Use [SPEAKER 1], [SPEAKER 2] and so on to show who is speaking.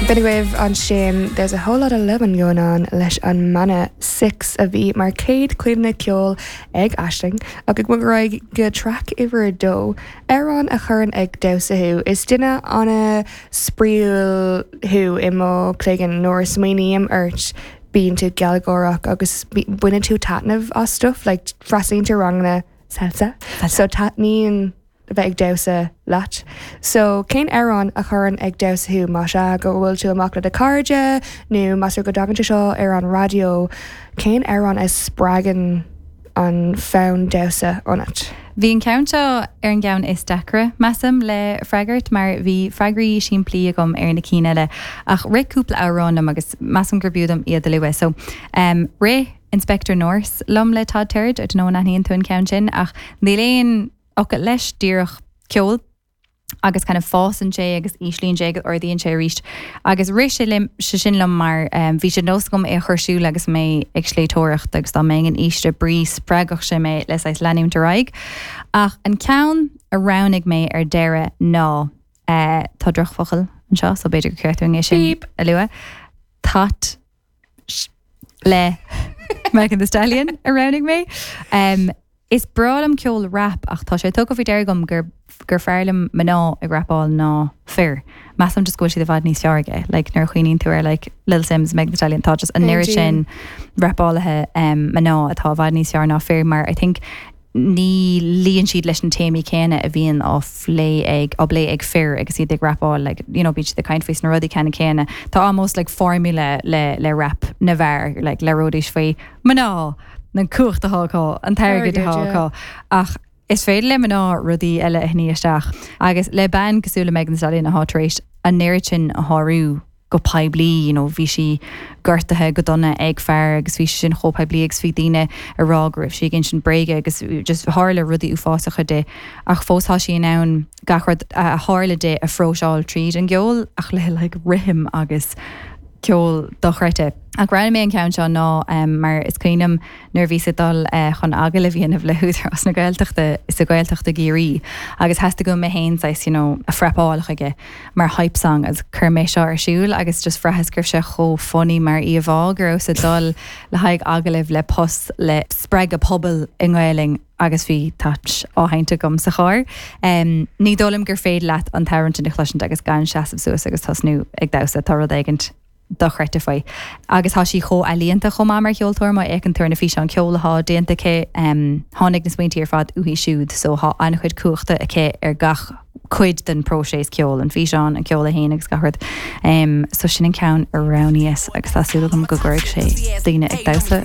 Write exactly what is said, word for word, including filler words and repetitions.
[SPEAKER 1] B'in agaibh ansin there's a whole lot of lovin' going on leis an mbanna Six a bhí mar céad cuimhne ceol ag Aisling agus go raibh go track uimhir a dó amhrán a chuireann ag damhsa thú is duine an-spraíúil thú i mo chloigeann nuair a smaoiním ort bíonn tú gealgháireach agus baineann tú taitneamh as stuff like freastalaíonn tú ranganna salsa so taitníonn a bheith ag damhsa leat. So cén amhrán a chuireann ag damhsa thú más ea go bhfuil tú amach le do chairde nó más go dtagann sé seo ar an raidió, cén amhrán a spreagann an fonn damhsa ionat.
[SPEAKER 2] Bhí an ceann seo ar an gceann is deacra measaim le freagairt mar bhí freagraí simplí agam ar na cinn eile ach rith cúpla amhrán liom agus measaim gur b'fhiú dom iad a lua. So um, rith Inspector Norse liom le Todd Terje nó aithníonn tú an ceann sin ach níl aon fhocal leis díreach ceol agus kind of fásann sé agus íslíonn sé agus ardaíonn sé arís. Agus rith sé liom sé sin liom mar um, bhí sé nós agam é a chur ar siúl agus mé ag sléibhteoireacht agus dá mbeinn in ísle brí spreagfadh sé mé le leanúint ar aghaidh. Ach an ceann a roghnaigh mé ar deireadh ná uh, tá drochfhocal anseo, so b'fhéidir gur ceart é sin a lua. That le Megan Thee Stallion a roghnaigh mé. Um, Is breá liom ceol rap ach tá sé tugtha faoi deara agam gur gur fearr liom mná ag rapáil ná fir. Measaim just go bhfuil siad i bhfad níos fearr aige, like nuair a chuimhníonn tú ar like Lil Sims Megan Thee Stallion tá just an oiread sin rapálaithe um, mná atá i bhfad níos fearr ná fir mar I think ní luíonn siad leis an téamaí céanna a bhíonn á phlé ag á bplé ag fir agus iad ag rapáil like you know bíonn siad ag caint faoi na rudaí ceanna céanna Tá almost like formula le le rap na bhfear like le rudaí faoi mná na cumhacht atá an t-airgead atá ach is féidir le mná rudaí eile a shní isteach agus le bean cosúil le Megan Thee Stallion atá tar éis an oiread sin a shárú go poiblí you know, bhí sí gortaithe go dona ag fear agus bhí sin chomh poiblí agus bhí daoine ag rá go raibh sí ag insint bréige agus just tharla rudaí uafásacha di ach fós tá sí in ann gach rud a tharla di a phróiseáil tríd an gceol ach le like, rithim agus ceol dochreidte. Ach roghnaigh mé an ceann seo ná um, mar is cuimhin liom nuair bhí sé dul uh, chun agallamh a dhéanamh le hÚdarás na Gaeltachta is a Gaeltachta Ciarraí agus theastaigh uaim mé féin you know, a phrepáil chuige mar hype song agus chuir mé seo ar siúl agus just bhraitheas go raibh sé chomh funny mar íomhá go raibh sé dul le haghaidh agallamh le post le spreagadh pobal i nGaelainn agus bhí That á sheinnt agam sa charr. Um, ní dóigh liom gur féidir leat an t-amhrán sin a chloisint agus gan seasamh suas agus tosnú ag damhsa tá rud éigin dochreidte faoi. Agus tá sí chomh ealaíonta chomh maith mar cheoltóir má fhéachann tú ar na físeáin ceol atá déanta aici um, tháinig na smaointe ar fad uaithi siúd, so tá an-chuid cumhachta aici ar gach cuid den próiseas ceol an físeán an ceol féin agus gach rud. Um, so sin an ceann a roghnaíos agus tá súil agam go gcuirfidh sé daoine ag damhsa